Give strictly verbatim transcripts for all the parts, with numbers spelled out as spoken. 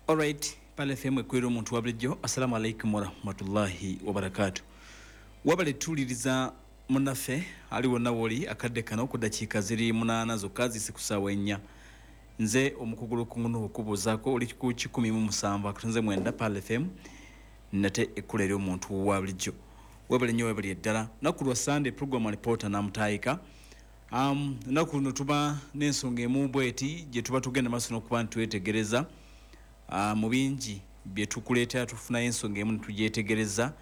Alright, Pearl F M ekwera omuntu wa bulijjo. Assalamu alaikum warahmatullahi wabarakatu. Wabale tuwuliriza munnaffe ali wonna woli akadde kano ku ddakiika ziri munaana zokka zisi ku ssaawa ennya. Nze omukugu Lukungu okubuuzaako oli ku kikumi mu musanvu akatonze mwenda Pearl F M, nate ekkula eri omuntu wa bulijjo. Webale nnyo, webale eddala. Lunaku lwa Sunday, program Alipoota Namutaayika. um, lunaku luno tuba n'ensonga emu bweti gye tuba tugenda maaso n'okuba nti twetegereza. uh, mu bingi bye tukuleetera, tufunayo ensonga emu ne tugyetegereza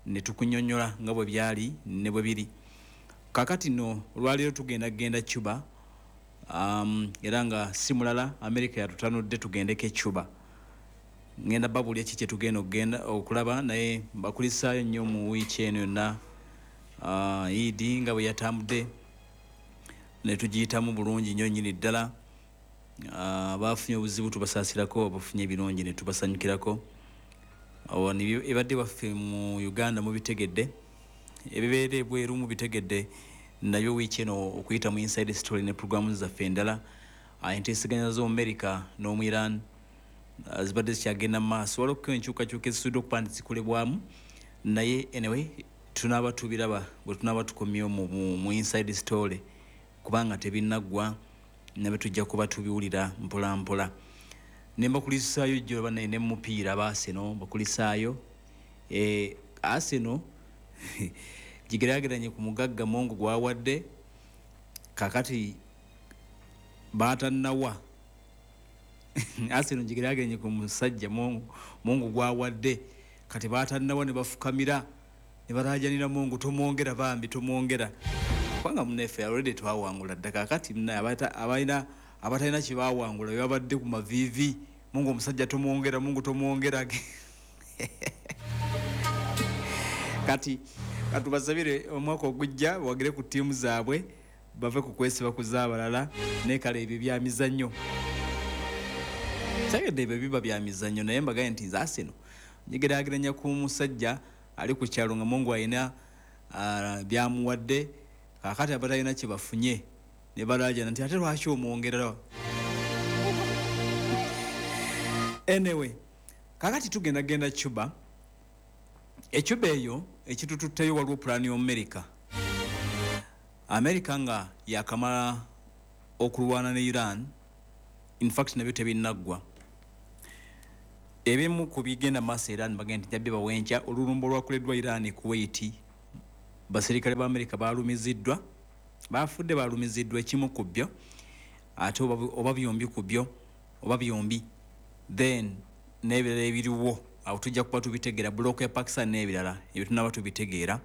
ne tukunyonnyola nga bwe byali ne bwe biri. Kakati nno olwaleero tugenda kugenda Cuba, um, era nga si mulala, America yatutanudde tugendeko e Cuba. Ngenda babuulya ki kyetugenda okugenda okulaba, naye mbakulisaayo nnyo mu wiiki eno yonna. uh, Idi nga bwe yatambudde ne tugiyitamu bulungi nnyo nnyini ddala. uh, bafunye obuzibu tubasaasirako, abafunye ebirungi ne tubasanyukirako. Awo ebadde waffe mu Uganda mubitegedde, ebibeera ebweru mubitegedde nabyo. Wiiki eno okuyita mu Inside Story ne programu zaffe endala, uh, enteeseganya z'omu America n'omu Iran uh, zibadde zikyagenda mu maaso. Waliwo enkyukakyuka ezisudde okuba nti zikolebwamu, naye anyway tunaaba tubiraba bwe tunaaba tukomyewo mu, mu, mu Inside Story, kubanga tebinnaggwa, nabyo tujja kuba tubiwulira mpola mpola. Ne mbakulisaayo jjo banaye ne mupiira ba Arsenal bakulisaayo. e, Arsenal gigeraageranye ku mugagga Mungu gwawadde, kakati batannawa. Arsenal gigeraageranye ku musajja Mungu, Mungu gwawadde, kati batannawa ne bafukamira ne balajanira, "Mungu tomwongera, bambi tomwongera," kubanga muneffe already twawangula dda. Kakati abalina abatalina kyebawangula bebabadde ku maviivi, "Mungu omusajja tomwongera, Mungu tomwongera." Kati katubasabire omwaka ogujja wagire ku ttiimu zaabwe, bave ku kwesiba ku zaabalala. Naye kale ebyo byamizannyo, kyagedde ebyo biba byamizannyo. Naye mbagaye nti nze Arsenal njigeraageranya ku musajja ali ku kyalo nga Mungu alina uh, byamuwadde, kakati abatalina kye bafunye ne balajana nti, "Ate lwaki omwongerera?" Anyway, kakati tugenda genda Cuba. Ecuba eyo ekitututteyo, waliwo pulaani y'Omumerika. Amerika nga yakamala okulwana ne Iran, infact nabyo tebinnaggwa. Ebimu ku bigenda maaso Iran bagenda nti njabye bawenkya olulumba olwakoleddwa Iran Kuwait, baserikale ba Amerika balumiziddwa, bafudde, balumiziddwa ekimu ku byo, ate oba byombi ku byo, oba byombi, then n'ebirala ebiriwo awo tujja kuba tubitegeera, block ya Pakistan n'ebirala ebyo tunaba tubitegeera.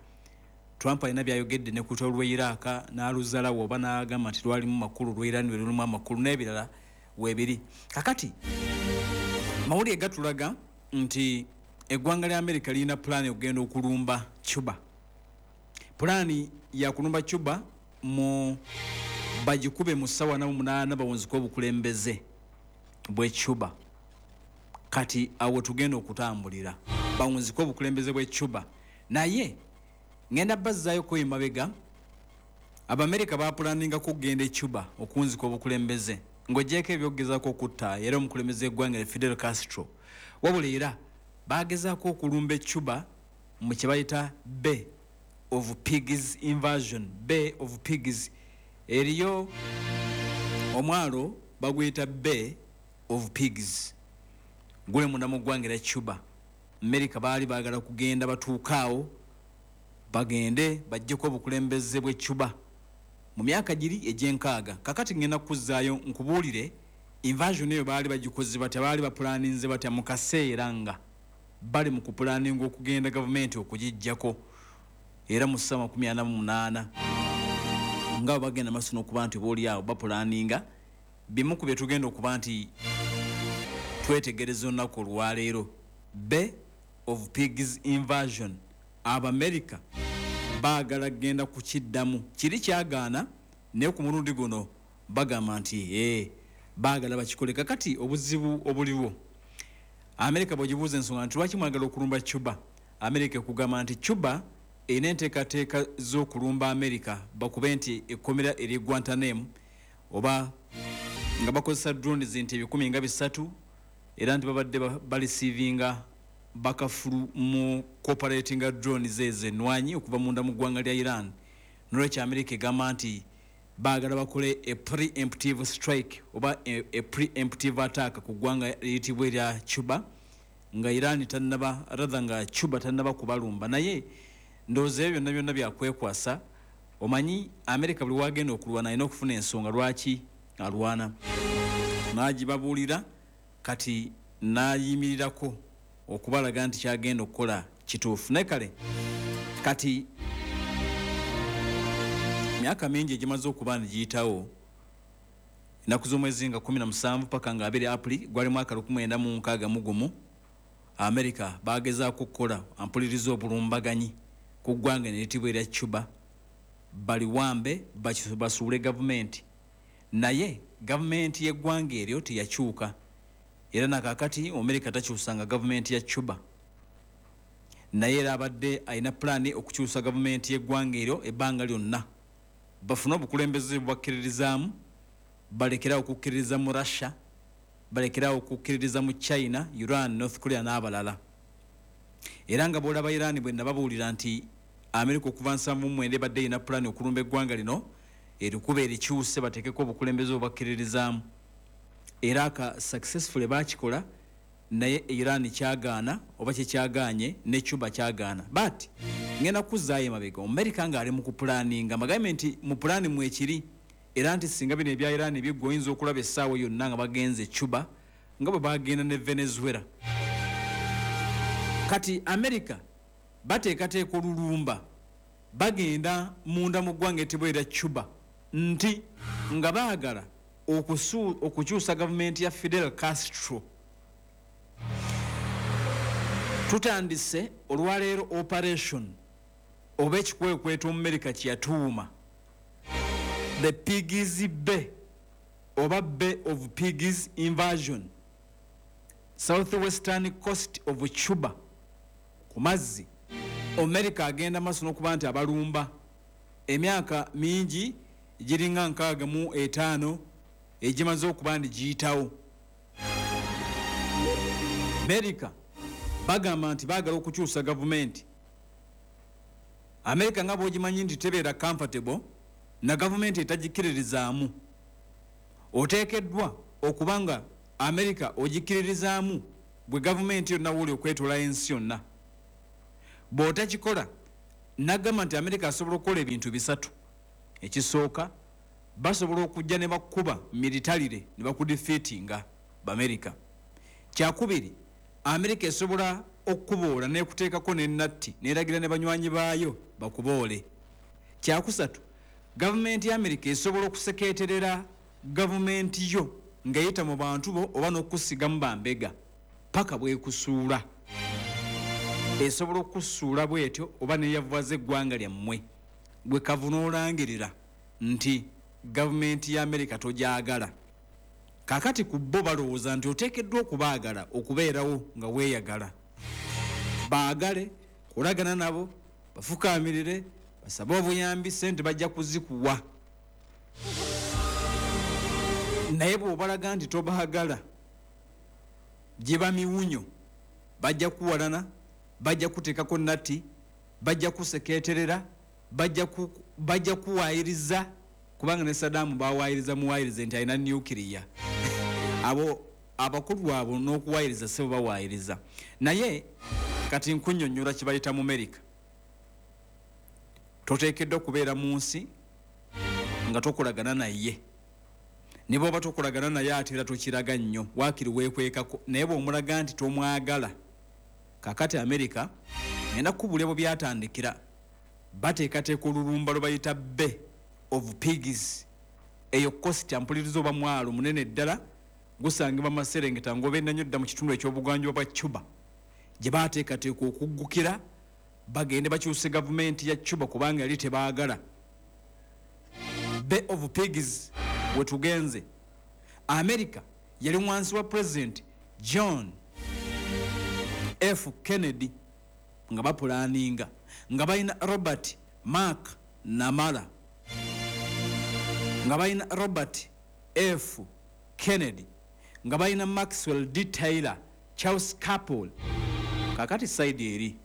Trump alina byayogedde ne ku lutalo lw'e Iraq n'aluzalawo oba n'agamba nti lwalimu makulu, lw'e Iran lwe lulimu amakulu, n'ebirala weebiri. Kakati mawulire gatulaga nti eggwanga lya Amerika lirina pulaani okugenda okulumba Cuba. Pulaani yakulumba Cuba mu bagikube mu ssaawa na munaana, bawunzike obukulembeze bw'e Cuba. Kati awo tugenda okutambulira, bawunzike obukulembeze bw'e Cuba. Naye ngenda bazzaayo emabega. Abamerika bapulaninga kugenda e Cuba okuwunzika obukulembeze, ng'ogyeko ebyokugezaako okutta era omukulembeze w'eggwanga Fidel Castro. Wabula era bagezaako okulumba e Cuba mu kye bayita Bay of Pigs invasion. Bay of Pigs, eriyo omwalo baguyita Bay of Pigs, guli munda mu ggwanga erya Cuba. Amerika baali baagala kugenda batuukaawo, bagende bajjeko obukulembeze bw'e Cuba mu myaka giri egy'enkaaga. Kakati ngenda kuzzaayo nkubuulire invasion eyo baali bagikoze batya, baali bapulaninze batya mu kaseera nga bali mu kupulaninga okugenda gavumenti okugijjako, era mu ssaawa makumi ana mu munaana nga bwe bagenda maaso n'okuba nti booli awo bapulaninga. Bimu ku bye tugenda okuba nti twetegereza olunaku olwaleero, Bay of Pigs invasion. Abamerika baagala kugenda kukiddamu kiri kyagaana, naye ku mulundi guno bagamba nti ee baagala bakikole. Kakati obuzibu obuliwo, Amerika bwegibuuza ensonga nti lwaki mwagala okulumba Cuba, Amerika ekugamba nti Cuba erina enteekateeka z'okulumba Amerika, bakube nti ekkomera eri Guantanamo, oba nga bakozesa drones nti ebikumi nga bisatu. Era nti babadde bareceivinga bakafulu mu cooperatinga drones ezo enwanyi okuva munda mu ggwanga lya Iran. Nolwekyo America egamba nti baagala bakole a preemptive strike oba a, a preemptive attack ku ggwanga eriyitibwa erya Cuba nga Iran tannaba, rather nga Cuba tannaba kubalumba. Naye ndowooza ebyo byonna byonna byakwekwasa. Omanyi America buli wagenda okulwana alina okufuna ensonga lwaki alwana, n'agibabuulira, kati n'ayimirirako okubalaga nti kyagenda okukola kituufu. Naye kale kati myaka mingi egimaze okuba nigiyitawo, ennaku z'omwezi nga kumi na musanvu paka nga abiri April gwali mwaka lukumi mwenda mu nkaaga mu gumu, America bagezaako okukola ampuliriza obulumbaganyi ku ggwanga eriyitibwa erya Cuba, baliwambe basuule gavumenti. Naye gavumenti y'eggwanga eryo teyakyuka, era nakakati America takyusanga gavumenti ya Cuba. Naye era abadde alina pulaani okukyusa gavumenti y'eggwanga eryo ebbanga lyonna bafune obukulembeze bubakkiririzaamu, balekerawo okukkiririza mu Russia, balekerawo okukkiririza mu China, Iran, North Korea n'abalala. Era nga bw'olaba Iran, bwe nababuulira nti America okuva nsanvu mu mwenda ebadde erina pulaani okulumba eggwanga lino erikuba erikyuse bateekeko obukulembeze obubakkiririzaamu, era aka successfully baakikola. Naye Iran kyagaana oba kyekyagaanye ne Cuba kyagaana. But ngenda kuzzaayo emabega, Omumerika ng'ali mu kupulaninga, mbagambye nti mu pulaani mwekiri, era nti singa bino ebya Iran biggwa oyinza okulaba essaawa yonna nga bagenze Cuba nga bwe bagenda ne Venezuela. Kati America bateekateeka olulumba, bagenda munda mu ggwanga etibwa erya Cuba nti nga baagala okukyusa gavumenti ya Fidel Castro. Tutandise olwaleero operation oba ekikwekweto Omumerika kyeyatuuma the Pigs Bay oba Bay of Pigs invasion, southwestern coast of Cuba. Ku mazzi Amerika agenda maaso n'okuba nti abalumba. Emyaka mingi giringa nkaaga mu etaano egimaze okuba nti giyitawo, Amerika bagamba nti baagala okukyusa gavumenti. Amerika nga bw'ogimanyi nti tebeera comfortable na gavumenti etagikkiririzaamu, oteekeddwa okuba nga Amerika ogikkiririzaamu gwe gavumenti yonna wooli okwetoola ensi yonna. Bw'otakikola, nagamba nti Amerika asobola okukola ebintu bisatu. Ekisooka, basobola okujja ne bakuba militarily ne bakudefeatinga Bamerika. Kyakubiri, Amerika esobola okukuboola nekuteekako nenatti neragira ne banywanyi baayo bakuboole. Kyakusatu, gavumenti ya Amerika esobola okuseketerera gavumenti yo ng'eyita mu bantu bo oba n'okusigamu bambega paka bwekusuula. Esobola okusuula bwetyo oba neyavuwaza eggwanga lyammwe, gwe kavu n'olangirira nti gavumenti ya Amerika togyagala. Kaakati ku bo balowooza nti oteekeddwa okubaagala okubeerawo nga weeyagala. Baagale, kolagana nabo, bafukaamirire, basabe obuyambi, ssente bajja kuzikuwa. Naye bw'obalaga nti tobaagala, giba miwunyo, bajja kuwalana, bajja kuteekako natti, bajja kuseketerera, bajja kuwaayiriza, kubanga ne Saddam bawaayiriza muwaayirize nti alina nuclear. Abo abakulu abo n'okuwaayiriza si bo bawaayiriza. Naye kati nkunnyonnyola kye bayita mu Amerika. Toteekeddwa kubeera mu nsi nga tokolagana naye. Ne bw'oba tokolagana naye ate era tokiraga nnyo, waakiri weekwekako. Naye bw'omulaga nti tomwagala, kaakati Amerika ngenda kukubuulira bwe byatandikira. Bateekateeka olulumba lwe bayita Bay of Pigs. Eyo coast ampuliriza oba mwalo munene ddala gusangibwa maserengeta ng'obenda nnyo dda mu kitundu eky'obuganjuba bwa Cuba, gye baateekateeka okuggukira bagende bakyuse gavumenti ya Cuba kubanga yali tebaagala. Bay of Pigs we tugenze. America yali wansi wa President John F Kennedy nga bapulaninga nga balina Robert Mark Namara, nga balina Robert F Kennedy Nga balina Maxwell D Taylor, Charles Capel. Kakati side eri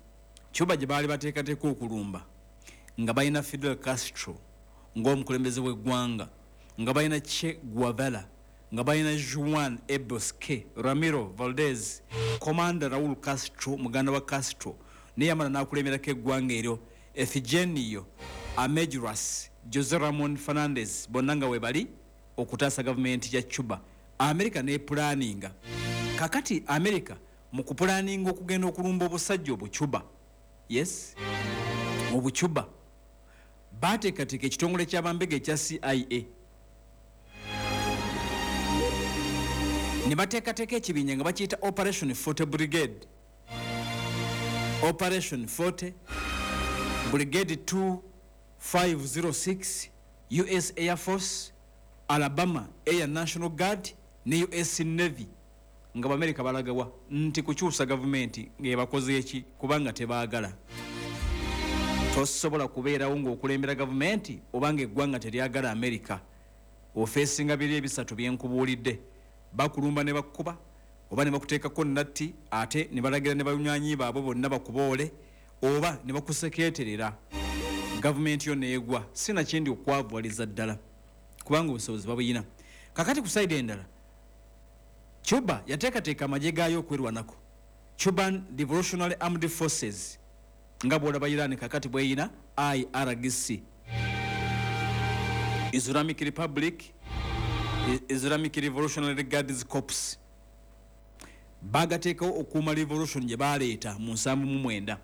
Cuba gye baali bateekateeka okulumba, nga balina Fidel Castro ng'omukulembeze w'eggwanga, nga balina Che Guevara, nga balina Juan E Bosque, Ramiro Valdez, Commander Raul Castro, muganda wa Castro naye yamala n'akulemberako eggwanga eryo, Efigenio Amejuras, Jose Ramon Fernandez, bonna nga we bali okutaasa gavumenti ya Cuba. America nepulaninga. Kakati America mu kupulaninga okugenda okulumba obusajja obucuba, yes, obucuba, bateekateeka ekitongole ky'abambega ekya C I A ne bateekateeka ekibinja nga bakiyita Operation forty Brigade, Operation forty Brigade two five zero six, U S Air Force, Alabama Air National Guard ne U S Navy. Nga Amerika balagawa nti kukyusa gavumenti ng'ebakoze eki kubanga tebaagala. Tosobola kubeerawo ng'okulembera gavumenti obanga eggwanga teryagala Amerika. Ofeesinga biri ebisatu bye nkubuulidde, bakulumba ne bakkuba oba ne bakuteekako natti ate ne balagira ne banywanyi baabwe bonna bakuboole oba ne bakusekeeterera gavumenti yo neegwa. Sinakindi okwavuwaliza ddala kubanga obusobozi babuyina. Kakati ku side endala, Cuba yateekateeka amagye gaayo okwerwanako, Cuban Revolutionary Armed Forces, nga bw'olaba Iran kakati bw'eyina I R G C, Islamic Republic, Islamic Revolutionary Guards Corps. Bagateekawo okuuma revolution gye baleeta mu nsanvu mu mwenda.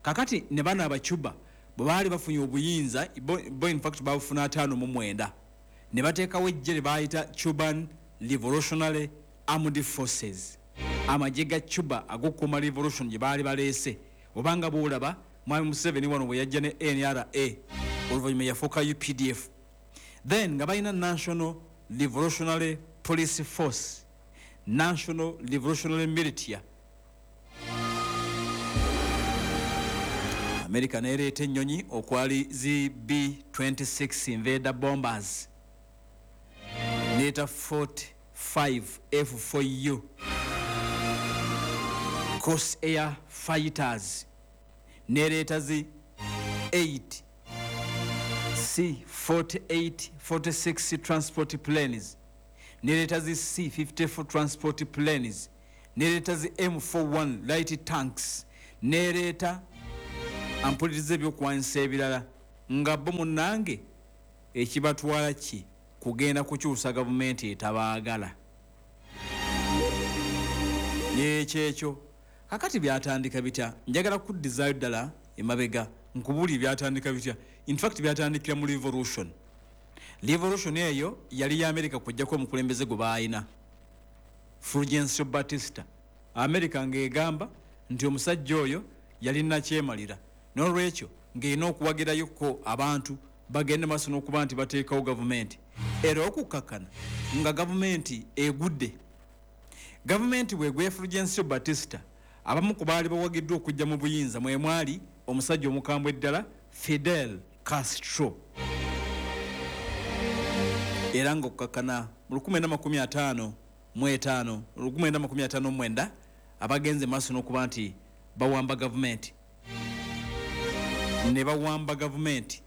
Kakati ne bano Abacuba bwe baali bafunye obuyinza, bo in fact babufuna ataano mu mwenda, ne bateekawo eggye lye baayita Cuban Revolutionary Armed Forces, amagye ga Cuba ag'okukuuma revolution gye baali baleese. Obanga bw'olaba Mwami Museveni wano bwe yajja ne N R A, oluvannyuma yafuuka U P D F. Then nga balina National Revolutionary Police Force, National Revolutionary Militia. America neereeta ennyonyi okwali zi B twenty-six Invader bombers, neeta forty-five F four U Cross Air Fighters, neereeta zi eight C forty-eight forty-six transport planes, neereeta zi C fifty-four transport planes, neereeta zi M forty-one light tanks, neereeta ampuliriza ebyokulwanyisa ebirala. Nga bo munnange ekibatwala ki kugenda kukyusa gavumenti etabaagala. Ekyo ekyo kakati byatandika bitya? Njagala kuddizaayo ddala emabega nkubuulire byatandika bitya. In fact byatandikira mu revolution. Revolution eyo yali ya America kujjako omukulembeze gwe baalina, Fulgencio Batista. America ng'egamba nti omusajja oyo yali nakyemalira, n'olwekyo ng'erina okuwagirayoko abantu bagende maaso n'okuba nti bateekawo gavumenti. Era okukakkana nga gavumenti egudde. Gavumenti bw'egwa Fulgencio Batista, abamu ku baali bawagiddwa okujja mu buyinza mwe mwali omusajja omukambwe ddala Fidel Castro. Era ng'okukakkana mu lukumi mwenda makumi ataano mu etaano, lukumi mwenda makumi ataano mu mwenda, abagenze maaso n'okuba nti bawamba gavumenti. Ne bawamba gavumenti.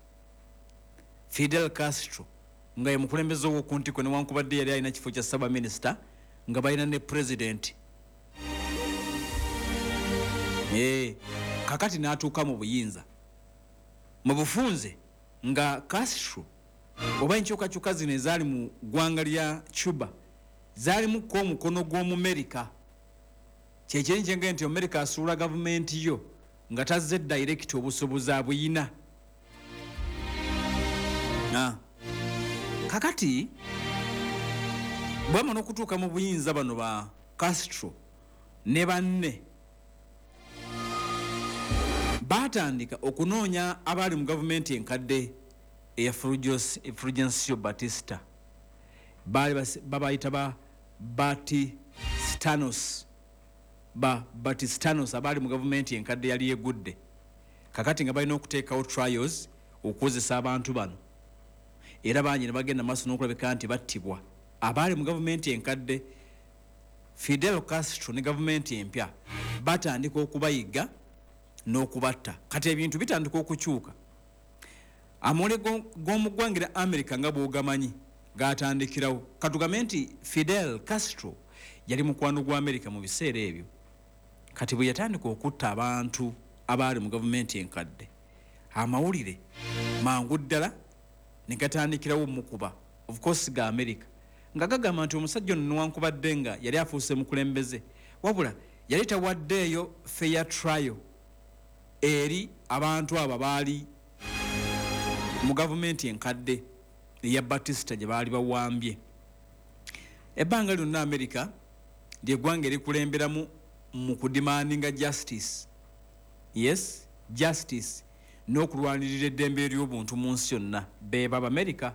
Fidel Castro nga ye mukulembeze ow'oku ntiko newankubadde yali alina kifo kya ssaabaminisita, nga balina ne pulezidenti. Eh, kakati n'atuuka mu buyinza. Mu bufunze nga Castro oba enkyukakyuka zino ezaali mu ggwanga lya Cuba zaalimuko omukono gw'Omumerika. Kyekiri nkyenge nti Amerika asuula gavumenti yo nga tazze direct obusobozi abuyina. Ah. Kakati bwamala okutuuka mu buyinza bano ba Castro ne banne baatandika okunoonya abaali mu gavumenti enkadde eya Fulgencio Batista. Baali babayita ba Batistanos, ba Batistanos abaali mu gavumenti enkadde yali egudde. Kakati nga balina okuteekawo trials okukozesa abantu bano, era bangi ne bagenda maaso n'okulabika nti battibwa. Abaali mu gavumenti enkadde Fidel Castro ne gavumenti empya batandika okubayiga n'okubatta. Kati ebintu bitandika okukyuka. Amawulire g'omu ggwanga lya America nga bw'ogamanyi gatandikirawo. Katugambe nti Fidel Castro yali mukwano gwa America mu biseera ebyo. Kati bwe yatandika okutta abantu abaali mu gavumenti enkadde, amawulire mangu ddala ne gatandikirawo mukuba, of course ga America, nga gagamba nti omusajja ono newankubadde nga yali afuuse mukulembeze, wabula yali tawaddeeyo fair trial eri abantu abo baali mu gavumenti enkadde eya Batista gye baali bawambye. Ebbanga lyonna America lyeggwanga erikulemberamu mu kudemandinga justice, yes, justice, n'okulwanirira eddembe ery'obuntu mu nsi yonna. Beeba Abamerika,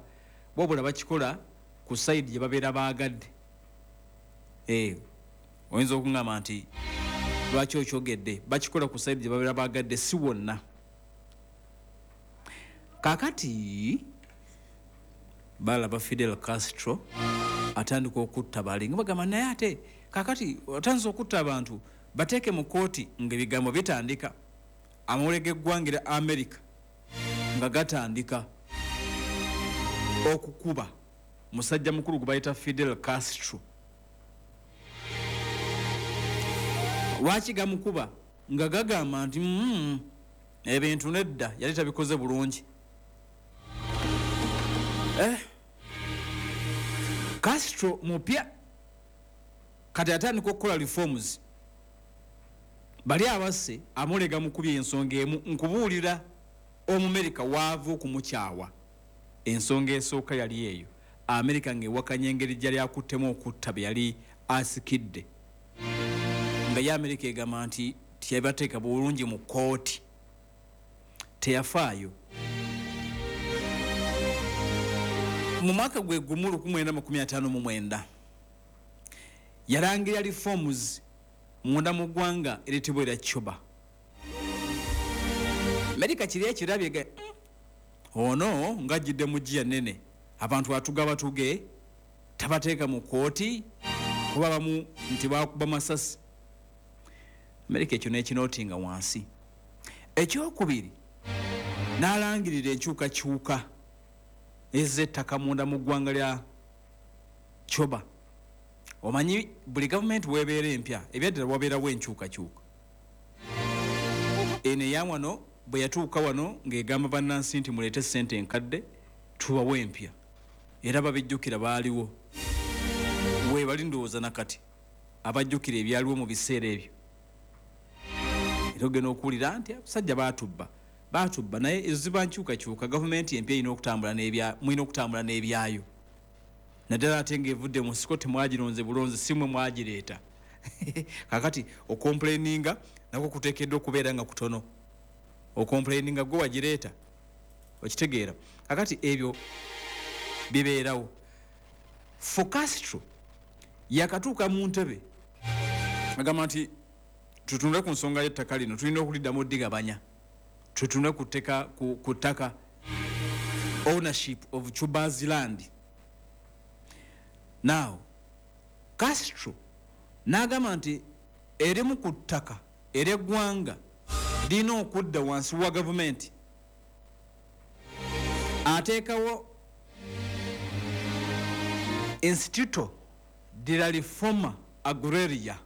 wabula bakikola ku side gye babeera baagadde. Eh, oyinza okuŋŋamba nti lwaki okyogedde? Bakikola ku side gye babeera baagadde, si wonna. Kaakati balaba Fidel Castro atandika okutta bali nga bagamba, naye ate kaakati otandise okutta abantu, bateeke mu kooti. Ng'ebigambo bitandika, amawulire g'eggwanga lya America nga gatandika okukuba musajja mukulu gwe bayita Fidel Castro. Lwaki gamukuba? Nga gagamba nti mm, ebintu nedda, yali tabikoze bulungi. eh. Castro mupya kati atandika okukola reforms. Bali abasse amulega mukubye ensonga emu. Nkubuulira, Omumerika waava okumukyawa, ensonga esooka yali eyo, Amerika ng'ewakanya engeri gyali akuttemu okutta bye yali asikidde, nga ye Amerika egamba nti teyabateeka bulungi mu kooti, teyafaayo. Mu mwaka gwe gumu lukumi mwenda makumi ataano mu mwenda yalangirira reforms munda mu ggwanga eritibwa erya Cuba. Amerika kiri ekirabye ga mm, ono ng'ajjidde mu giya nene, abantu atuga batuge, tabateeka mu kooti kuba bamu nti bakuba masasi. Amerika ekyo n'ekinotinga wansi. Ekyokubiri, n'alangirira enkyukakyuka ez'ettaka munda mu ggwanga lya Cuba. Omanyi buli gavumenti weebeera empya, ebyaddala wabeerawo enkyukakyuka. Eno eya wano bwe yatuuka wano ng'egamba bannansi nti muleete sente enkadde tubawe empya, era babijjukira, baaliwo weebali, ndowooza nakati abajjukira ebyaliwo mu biseera ebyo. Era ogenda okuwulira nti abasajja baatubba, baatubba, naye ezo ziba nkyukakyuka. Gavumenti empya erina okutambula n'ebya mulina okutambula n'ebyayo, naddala ate ng'evudde mu nsiko, temwagironze bulonzi, si mwe mwagireeta. Kakati ocomplaininga nako kuteekeddwa okubeera nga kutono. Ocomplaininga gwe wagireeta, okitegeera? Kakati ebyo bibeerawo. For Castro yakatuuka mu ntebe, agamba nti tutunule ku nsonga y'ettaka lino, tulina okuliddamu ddigabanya, tutunule ku tteka- ku ku ttaka, ownership of Cuba's land. Now Castro n'agamba nti erimu ku ttaka ery'eggwanga lirina okudda wansi wa gavumenti. Ateekawo Instituto de la Reforma Agraria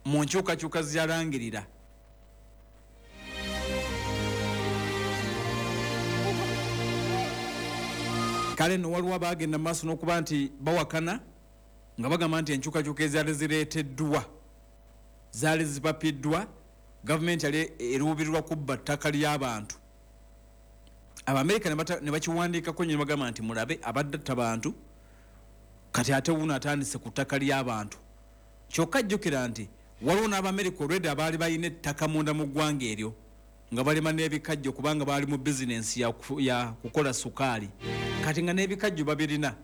mu nkyukakyuka ziyalangirira. Kale nno waliwo abagenda mu maaso n'okuba nti bawakana nga bagamba nti enkyukakyuka ezaali zireeteddwa zaali zipapiddwa, gavumenti yali eruubirirwa kubba ttaka ly'abantu. Abamerika ne bata- ne bakiwandiikako nnyo ne bagamba nti mulabe, abadde atta bantu, kati ate wuno atandise ku ttaka ly'abantu. Kyokka jjukira nti waliwo n'Abamerika olwedde abaali balina ettaka munda mu ggwanga eryo nga balima n'ebikajjo, kubanga baali mu bizinensi ya, ku- ya kukola sukaali. Kati nga n'ebikajjo babirina,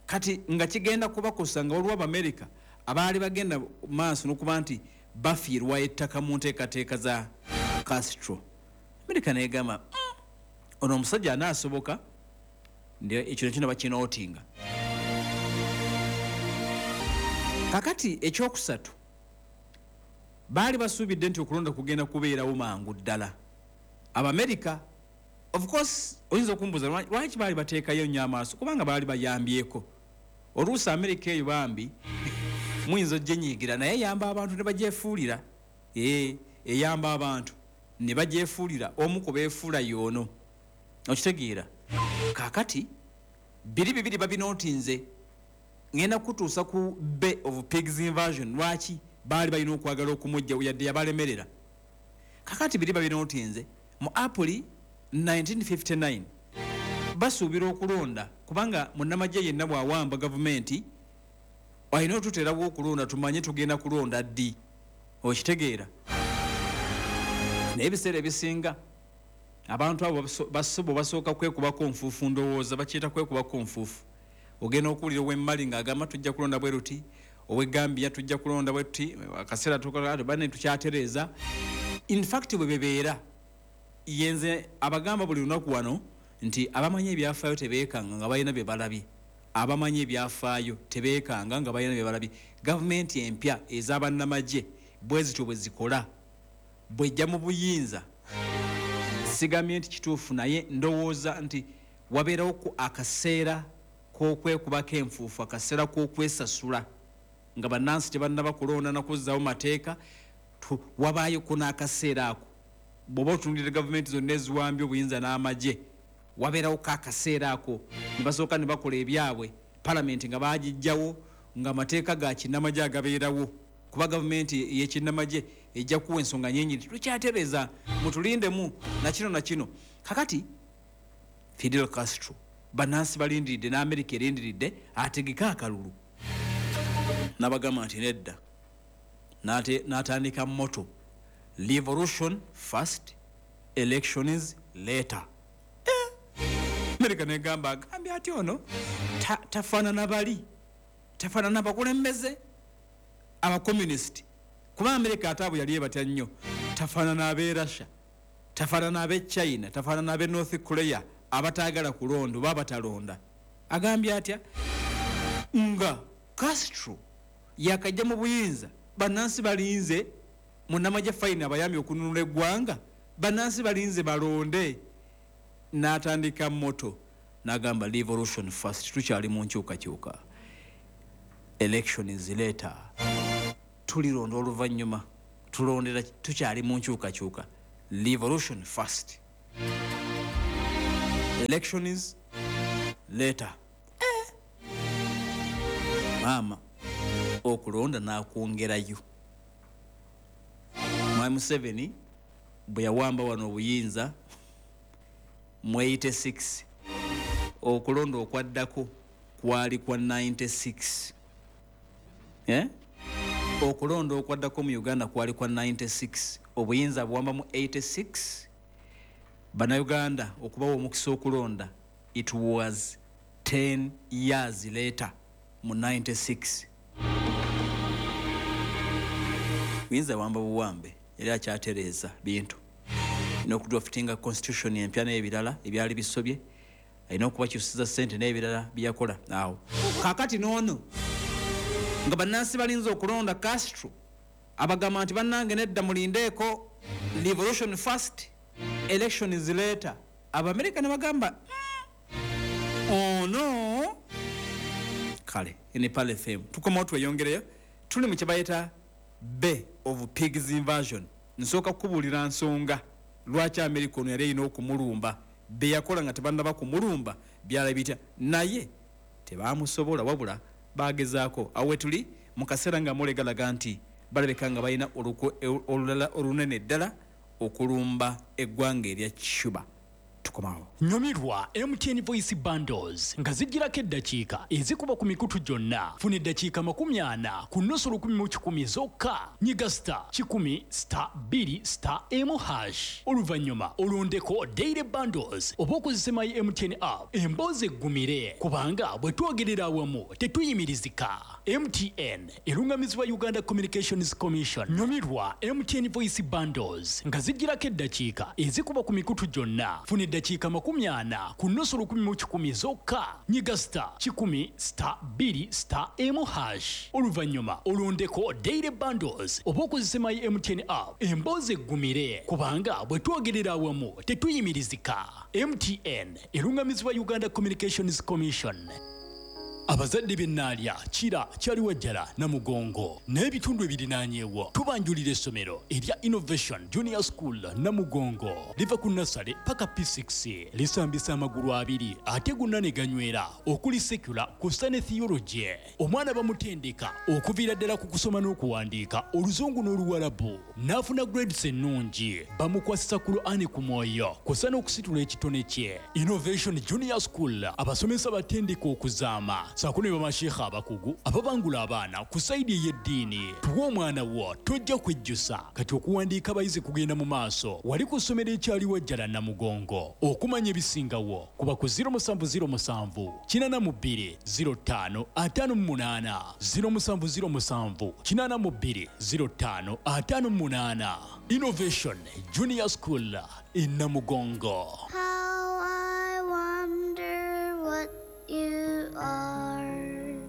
kati nga kigenda kubakosa, nga waliwo Abamerika abaali bagenda maaso n'okuba nti bafiirwa ettaka mu nteekateeka za Castro. Amerika negamba, mm, ono omusajja anaasoboka?" Ekyo nekyo ne bakinootinga. Kakati ekyokusatu, baali basuubidde nti okulonda kugenda kubeerawo mangu ddala. Abamerika, of course, oyinza okumbuuza lwaki baali bateekayo nnyo amaaso, kubanga baali bayambyeko. Oluusi Amerika eyo bambi muyinza ojjenyiigira, naye eyamba abantu ne bagyefuulira. Ee, eyamba abantu ne bagyefuulira. Omu ku beefuula yoono, okitegeera? Kaakati biri bibiri babinootinze. Ngenda kutuusa ku Bay of Pigs invasion, lwaki baali balina okwagala okumujja yadde yabalemerera. Kakati biri babinootinze. Mu April nineteen fifty-nine basuubira okulonda, kubanga munnamagye yenna bw'awamba gavumenti alina otuteerawo okulonda, tumanye tugenda kulonda ddi, okitegeera? Naye ebiseera ebisinga abantu abo basobo basooka kwekubako nfuufu. Ndowooza bakiyita kwekubako nfuufu. Ogenda okuwulira ow'emmali ng'agamba tujja kulonda bwe ruti, ow'e Gambia tujja kulonda bwe tuti, akaseera bane tukyatereeza. In fact, bwe bebeera yenze abagamba buli lunaku wano nti abamanyi ebyafaayo tebeekanga nga balina bye balabye. Abamanyi ebyafaayo tebeekanga nga balina bye balabye. Gavumenti empya ez'abannamagye bwe zityo bwe zikola, bwejja mu buyinza. Sigambye nti kituufu, naye ndowooza nti wabeerawo ku akaseera k'okwekubako enfuufu, akaseera k'okwesasula nga bannansi tebannaba kulonda nakuzzaawo mateeka. Wabaayo ko n'akaseera ako. Bw'oba otunulira gavumenti zonna eziwambye obuyinza n'amagye, wabeerawo ko akaseera ako ne basooka ne bakola ebyabwe, palamenti nga bagijjawo, nga amateeka ga kinnamagye agabeerawo, kuba gavumenti ey'ekinnamagye ejja kuwa ensonga nyingi nti tukyatereeza, mutulindemu nakino nakino. Kakati Fidel Castro, bannansi balindiridde, n'Amerika erindiridde ategeke akalulu. Nabagamba nti nedda, n'atandika motto, "Revolution first, elections later." Eh! Amerika negamba, agambye ati ono tafaanana bali, tafaanana bakulembeze abacommunist, kuba Amerika ate abo yali ebatya nnyo. Tafaanana ab'e Russia, tafaanana ab'e China, tafaanana ab'e North Korea abataagala kulonda oba abatalonda. Agambye atya nga Castro yakajja mu buyinza, bannansi balinze munnamagye fayini abayambye okununula eggwanga, bannansi balinze balonde, n'atandika motto n'agamba, "Revolution first, tukyali mu nkyukakyuka, election is later, tulironda oluvannyuma, tulondera tukyali mu nkyukakyuka. Revolution first, election is later." Eh. Maama okulonda n'akwongerayo. Mwami Museveni bwe yawamba wano obuyinza mu eighty-six, okulonda okwaddako kwali kwa ninety-six. Eh? Okulonda okwaddako mu Uganda kwali kwa ninety-six. Obuyinza buwamba mu eighty-six, Bannayuganda okubawa omukisa okulonda, it was ten years later mu ninety-six. Buyinza wamba buwambe, yali akyatereeza bintu n'okudraftinga constitution empya n'ebirala ebyali bisobye, alina okubakyusiza sente n'ebirala byeyakola awo. Kakati noono nga bannansi balinza okulonda, Castro abagamba nti bannange nedda, mulindeeko, revolution first, election is later. Abamerika ne bagamba, mm, ono kale ene Pearl F M tukomawo tweyongereyo. Tuli mu kyebayita Bay of Pigs invasion. Nsooka kukubuulira nsonga lwaki Amerika ono yali erina okumulumba. Beyakola nga tebannaba kumulumba byala bitya, naye tebamusobola, wabula bagezaako. Awo wetuli mu kaseera nga mulegalaga nti balabika nga balina olulala olunene ddala okulumba eggwanga erya Cuba. Tukomawo. Nyumirwa M T N Voice Bundles nga zijjirako eddakiika ezikuba ku mikutu gyonna. Funa eddakiika makumi ana ku nusu lukumi mu kikumi zokka. Nyiga star kikumi star bbiri star emu hash. Oluvannyuma olondeko Daily Bundles oba okozese My M T N app. Emboozi eggumire kubanga bwe twogerera awamu tetuyimirizika. M T N erungamizibwa Uganda Communications Commission. Nyumirwa M T N Voice Bundles nga zijjirako eddakiika ezikuba ku mikutu gyonna. Funa eddakiika eddakiika makumi ana ku nnusu lukumi mu kikumi zokka. Nyiga star kikumi star bbiri star emu hash, oluvannyuma olondeko daily bundles oba okozese My M T N app. Emboozi eggumire, kubanga bwe twogerera awamu tetuyimirizika. M T N eruŋŋamizibwa Uganda Communications Commission. Abazadde b'Ennaalya, Kira, Kyaliwajjala, Namugongo n'ebitundu ebirinaanyeewo, tubanjulira essomero erya Innovation Junior School Namugongo. Liva ku nursery paka P six, lisambisa amagulu abiri ate gonna ne ganywera, okuli secular kussa ne theology. Omwana bamutendeka okuviira ddala ku kusoma n'okuwandiika Oluzungu n'Oluwalabu n'afuna grades ennungi. Bamukwasisa Kur'ani ku mwoyo kussa n'okusitula ekitone kye. Innovation Junior School, abasomesa batendeka okuzaama saako ne bamasheekha abakugu ababangula abaana ku side ey'eddiini. Tuwa omwana wo, tojja kwejjusa. Kati okuwandiika abayizi kugenda mu maaso wali ku ssomero eKyaliwajjala Namugongo. Okumanya ebisingawo kuba ku zero musanvu zero musanvu kinaana mu bbiri zero ttaano ataano mu munaana, zero musanvu zero musanvu kinaana mu bbiri zero ttaano ataano mu munaana. Innovation Junior School e Namugongo. How I wonder what you are.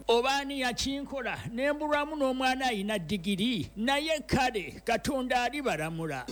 Obaani yakinkola ne mbulwamu n'omwana ayina digiri, naye kale Katonda alibalamula.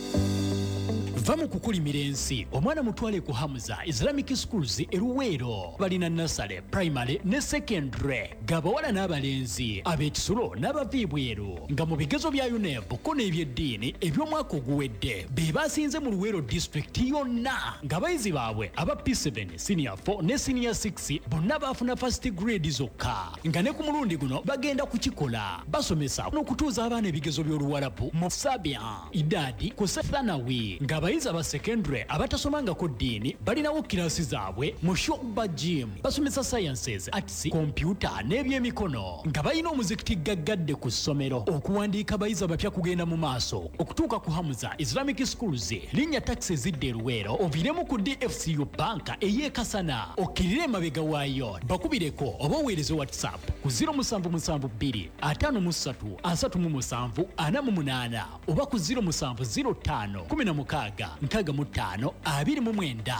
Va mu kukulimira ensi, omwana mutwale ku Hamza Islamic Schools e Luweero. Balina nursery, primary ne secondary, g'abawala n'abalenzi, ab'ekisulo n'abava ebweru, nga mu bigezo bya UNEB ko n'ebyeddiini eby'omwaka oguwedde be basinze mu Luweero Disitulikiti yonna, ng'abayizi baabwe aba P seven, senior four ne senior six bonna baafuna first grade zokka, nga ne ku mulundi guno bagenda kukikola. Basomesa n'okutuuza abaana ebigezo by'Oluwalabu mu Sabia, Idadi ku Thanawi, ng'abayizi aba secondary abatasomangako ddiini balinawo kirasi zaabwe mu Shuba Gym. Basomesa sciences, arts, kompyuta n'ebyemikono, nga balina omuzikiti gaggadde ku ssomero. Okuwandiika abayizi abapya kugenda mu maaso. Okutuuka ku Hamza Islamic Schools, linnya takisi ezidda e Luweero, oviiremu ku D F C U Banka ey'Ekasana, okkirire emabega waayo. Bakubireko oba oweereze WhatsApp ku zero musanvu musanvu bbiri ataano mu ssatu asatu mu musanvu ana mu munaana oba ku zero musanvu zero ttaano kumi na mukaaga nkaaga mu ttaano abiri mu mwenda.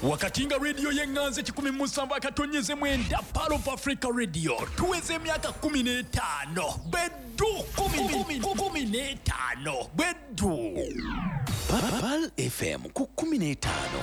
Wakati nga rediyo y'eŋŋanzi kikumi mu musanvu akatonyeze mwenda, Pearl of Africa Radio, tuweza emyaka kumi n'etaano beddu, kumi kumi n'etaano beddu. Pearl F M ku kkumi n'etaano.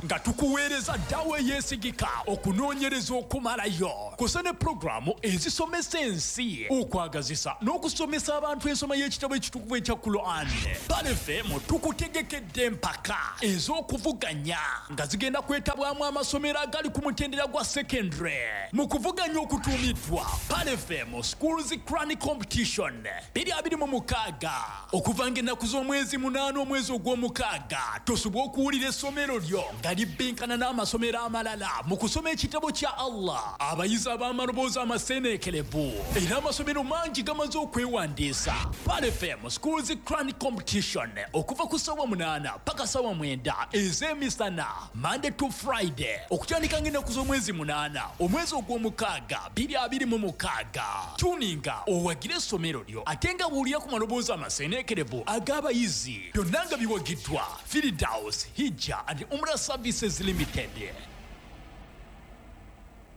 Nga tukuweereza ddawo eyeesigika, okunoonyereza okumalayo kusa ne pulogulaamu ezisomesa ensi, okwagazisa n'okusomesa abantu ensoma y'ekitabo ekitukuvu ekya Quran. Pearl F M tukutegekedde empaka ez'okuvuganya nga zigenda kwetabwamu amasomero agali ku mutendera gwa secondary mu kuvuganya okutuumiddwa Pearl F M Schools Quran Competition twenty twenty-six, okuva ng'ennaku z'omwezi munaana omwezi ogw'omukaaga. Tosobwa okuwulira essomero lyo nga libbinkana n'amasomero amalala mu kusoma ekitabo kya Allah. Abayizi ab'amaloboozi amaseeneekerevu, era amasomero mangi gamaze okwewandiisa. Pearl F M Schools Quran Competition, okuva ku ssaawa munaana paka ssaawa mwenda ez'emisana, Monday to Friday, okutandika ng'ennaku z'omwezi munaana omwezi ogw'omukaaga twenty twenty-six. Tuninga owagire essomero lyo, ate nga buulira ku maloboozi amaseeneekerevu ag'abayizi. Byonna nga biwagiddwa Firdaus Hijja and Umrah Services Limited.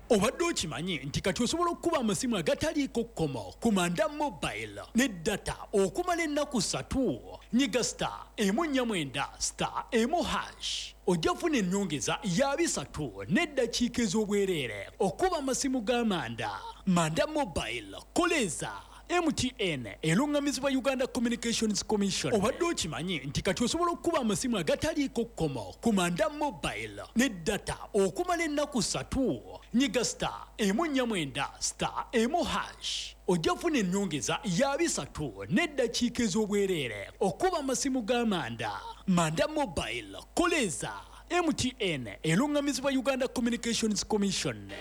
Obadde okimanyi nti kati osobola okukuba amasimu agataliiko kkomo ku Manda Mobile ne data okumala ennaku ssatu? Nyiga star emu nnya mwenda star emu hash, ojja kufuna ennyongeza ya bisatu n'eddakiika ez'obwereere okuba amasimu ga Manda. Manda Mobile, koleeza. M T N eruŋŋamizibwa Uganda Communications Commission. Obadde okimanyi nti kati osobola okukuba amasimu agataliiko kkomo ku Manda Mobile ne data okumala ennaku ssatu? Nyiga star emu nnya mwenda star emu hash, ojja kufuna ennyongeza ya bisatu n'eddakiika ez'obwereere okuba amasimu ga Manda. Manda Mobile, koleeza. M T N eruŋŋamizibwa Uganda Communications Commission.